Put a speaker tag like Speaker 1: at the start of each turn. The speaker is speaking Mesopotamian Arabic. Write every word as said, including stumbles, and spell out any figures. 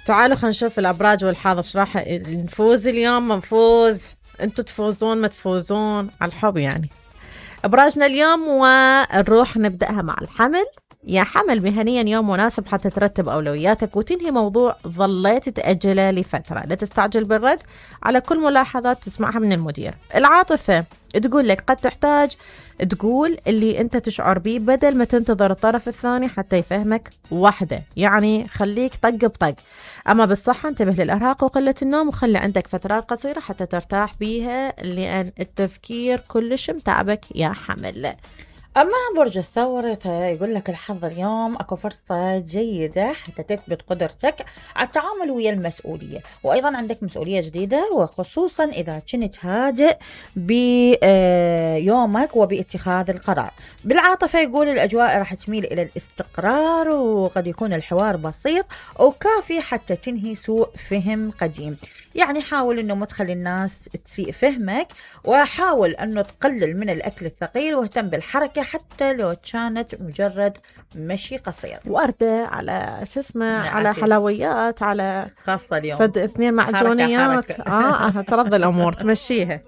Speaker 1: تعالوا خلينا نشوف الأبراج والحظ ايش راح نفوز اليوم. ما نفوز، انتوا تفوزون ما تفوزون على الحب يعني. أبراجنا اليوم ونروح نبدأها مع الحمل. يا حمل، مهنيا يوم مناسب حتى ترتب أولوياتك وتنهي موضوع ظليت تأجله لفترة. لا تستعجل بالرد على كل ملاحظات تسمعها من المدير. العاطفة تقول لك قد تحتاج تقول اللي انت تشعر بيه بدل ما تنتظر الطرف الثاني حتى يفهمك وحده، يعني خليك طق بطق. اما بالصحة انتبه للارهاق وقلة النوم، وخلي عندك فترات قصيرة حتى ترتاح بيها لان التفكير كلش متعبك يا حمل.
Speaker 2: أما برج الثور فيقول لك الحظ اليوم أكو فرصة جيدة حتى تثبت قدرتك على التعامل ويا المسؤولية، وأيضا عندك مسؤولية جديدة، وخصوصا إذا كنت هادئ بيومك وباتخاذ القرار. بالعاطفة يقول الأجواء راح تميل إلى الاستقرار، وقد يكون الحوار بسيط وكافي حتى تنهي سوء فهم قديم. يعني حاول أنه ما تخلي الناس تسيء فهمك، وحاول أنه تقلل من الأكل الثقيل واهتم بالحركة حتى لو كانت مجرد مشي قصير.
Speaker 1: وردة على شو اسمه، على حلويات، على
Speaker 2: خاصة اليوم
Speaker 1: فد اثنين معجونيات.
Speaker 2: حركة حركة.
Speaker 1: اه ترضى الأمور تمشيها.